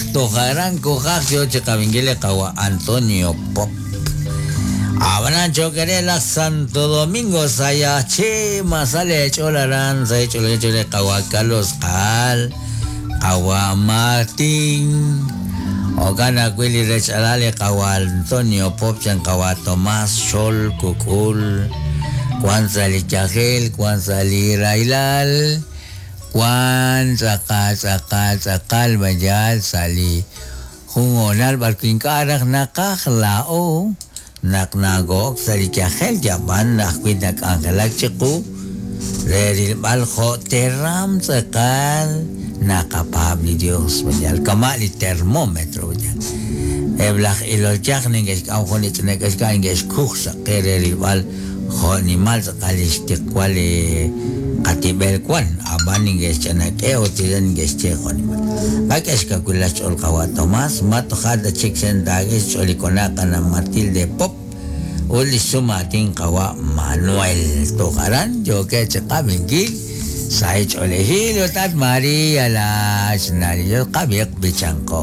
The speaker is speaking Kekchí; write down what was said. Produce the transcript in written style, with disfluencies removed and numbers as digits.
Toj aran kujaj yo chi qab'inkil li qawa' Antonio Pop. Ab'anan cho'q re laj Santo Domingo Sayaxche ma sa' leech'ool aran sa' xch'oolej li qawa' Carlos Qaal, qawa' Martín, jo'kan ajwi' li rech-alal li qawa' Antonio Pop chan qawa' Tomás Xol Kuk'ul, wan sa' li yajel, wan sa' li rahilal, wan tz'aqal tz'aqal tz'aqal mayal sa' li jun hoonal b'arwi' ink'a' raj naqaj laa'o naq nako'ok sa' li yajel yab'an ajwi' nak'anjelak chiqu re rilb'al jo' teram tz'aqal naqapaab' li Dios mayal kama' li termómetro mayal eb' laj ilol yaj neke'xk'am jun li ch'ina k'exk'a neke'xkuj sa' qe re rilb'al jo' nimal tz'aqal li xtiqwal li qatib'el wan, ab'an neke'xch'anak'e ut tira neke'xye jo' nimal. Qak'e xkawilal xch'ool qawa' Tomás, ma toja' ta chik xentaak'e xch'ool li kona' qana' Matilde Pop ut li xsum aatin qawa' Manuel. Toj aran yookeb' chi qab'inkil sahil ch'oolejil ut at María la xna' li Dios qab'iiq b'ichanqo.